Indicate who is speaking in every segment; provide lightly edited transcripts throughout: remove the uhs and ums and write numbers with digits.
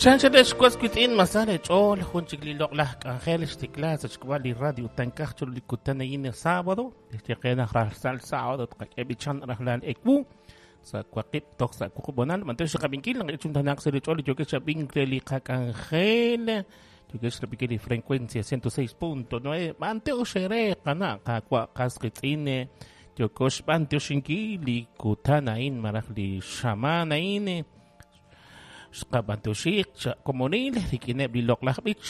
Speaker 1: Chanchalex was witz'in masal ch'ool jun chik li loq'laj k'anjel xtikla sa' xk'ab'a' li radio tankaj chiru li kutan a'in sábado xyeqe naq rajlal sábado tqak'e b'ichan rajlal ewu sa' waqib' toj sa' wuqub' honal b'anyox xqab'inkil naq chuntanaq sa' li ch'ool li yookex xab'ink re li qak'anjel yookex xrab'inkil li frecuencia 106.9 b'anyox re qana' qaawa' qas qitz'in yookox b'anyoxinkil li kutan a'in malaj li xamaan a'in xqab'anyoxi komonil rik'ineb' li loq'laj b'ich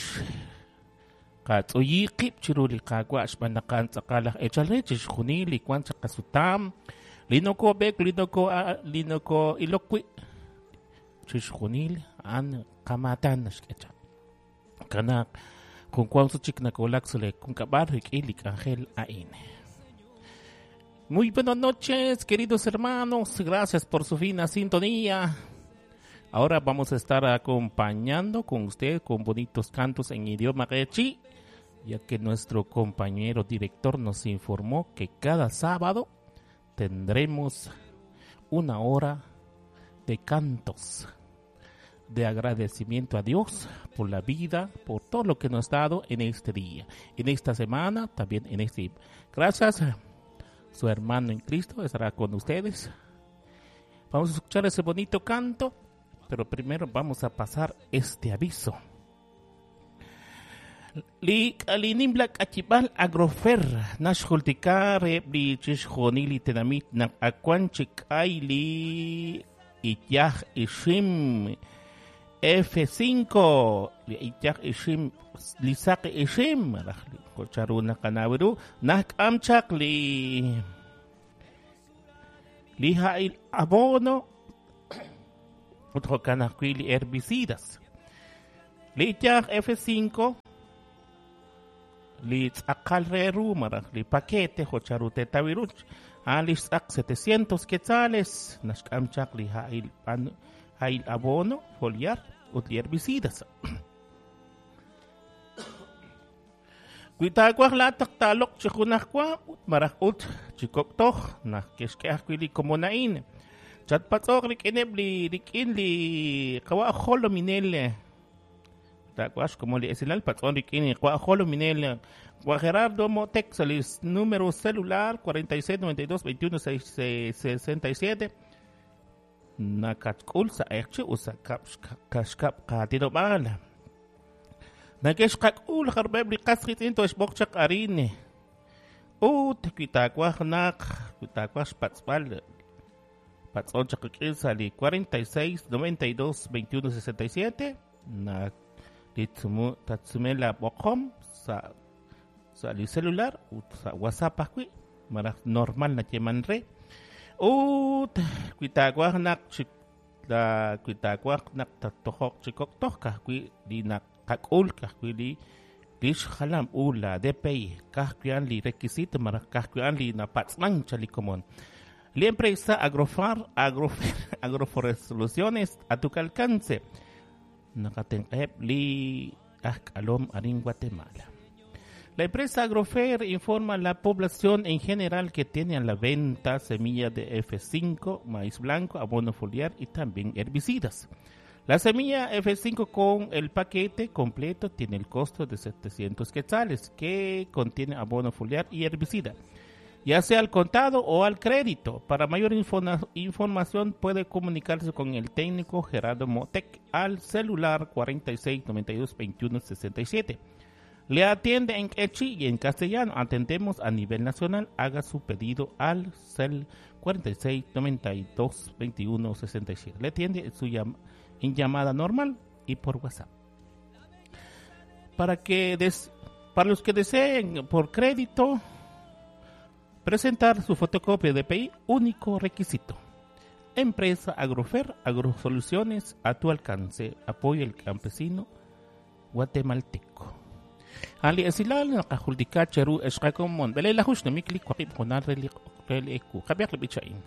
Speaker 1: qatz'uyi qib' chiru li qaawa' xb'aan naq a'an tz'aqal aj eechal re chixjunil li wank chaq qasutam li nokob'eek li noko li noko'ilok wi' chixjunil a'an qamaatan naxk'e chaq kanaaq jun wank sut chik nakowulak sa' li junkab'al rik'in li k'anjel a'in. Muy buenas noches, queridos hermanos. Gracias por su fina sintonía. Ahora vamos a estar acompañando con usted con bonitos cantos en idioma q'eqchi', ya que nuestro compañero director nos informó que cada sábado tendremos una hora de cantos de agradecimiento a Dios por la vida, por todo lo que nos ha dado en este día, en esta semana, también en este. Gracias, su hermano en Cristo estará con ustedes. Vamos a escuchar ese bonito canto, pero primero vamos a pasar este aviso. Li k'alinimla k'achib'al Agrofer naxjultika reheb' li chixjunil li tenamit naq awan chik k'ay li iyaj ixim F5 li iyaj ixim li saq ixim malaj li charu naqanaw ru najk'am chaq li li ha'il abono ut jo'kan ajwi' li herbicidas li iyaj F5 li tz'aqal re ru malaj li paquete jo' charu teetaw ru a'an li xtz'aq 700 quetzales naxk'am chaq li ha'il ha'il abono foliar ut li herbicidas. Wi taawaj laa'at naq taaloq' chi junajwa ut malaj ut chi kok' toj naq ke'xk'e ajwi' li komon a'in chatpatz'oq rik'ineb' li rik'in li qawa' jolominel taawaj xkomon li esilal patz'on rik'in li qawa' jolominel wa Gerardo Motek sa' li número celular 46 92 21 67 nakatk'ul sa' q'eqchi' ut sa' kab' xkab' qaatinob'aal Nake'xqak'ul jarub'eb' li qas qiitz'in toxb'oq chaq arin ut wi taawaj naq wi taawaj xpatz'b'al patz'on chaq rik'in sa' li 46 92 21 67 na li tsumu tatsume la b'oqom sa' sa' li celular ut sa' WhatsApp ajwi' malaj normal nayeeman re ut wi taawaj naq chi la wi taawaj naq tattojoq chi kok' toj ka'ajwi' li naqak'ul ka'ajwi' li lix jalam u la DPI ka'ajwi' a'an li requisito malaj ka'ajwi' a'an li napatz'man cha li komon. La empresa Agrofar Agrofer Agroforest Soluciones a tu alcance naqatenq'aheb' li aj k'alom arin Guatemala. La empresa Agrofer informa a la población en general que tiene a la venta semilla de F5, maíz blanco, abono foliar y también herbicidas. La semilla F5 con el paquete completo tiene el costo de 700 quetzales, que contiene abono foliar y herbicida, ya sea al contado o al crédito. Para mayor información puede comunicarse con el técnico Gerardo Motek al celular 46 92 21 67. Le atiende en q'eqchi' y en castellano. Atendemos a nivel nacional. Haga su pedido al cel 46 92 21 67. Le atiende su en llamada normal y por WhatsApp. Para que des para los que deseen por crédito presentar su fotocopia de DPI, único requisito. Empresa Agrofer, Agrosoluciones a tu alcance. Apoya el campesino guatemalteco. Ali esilal naqajultika cheru ex qakomon b'eleelaju xnumik li waqib' junal re li re li ewu qab'iaq li b'ich a'in.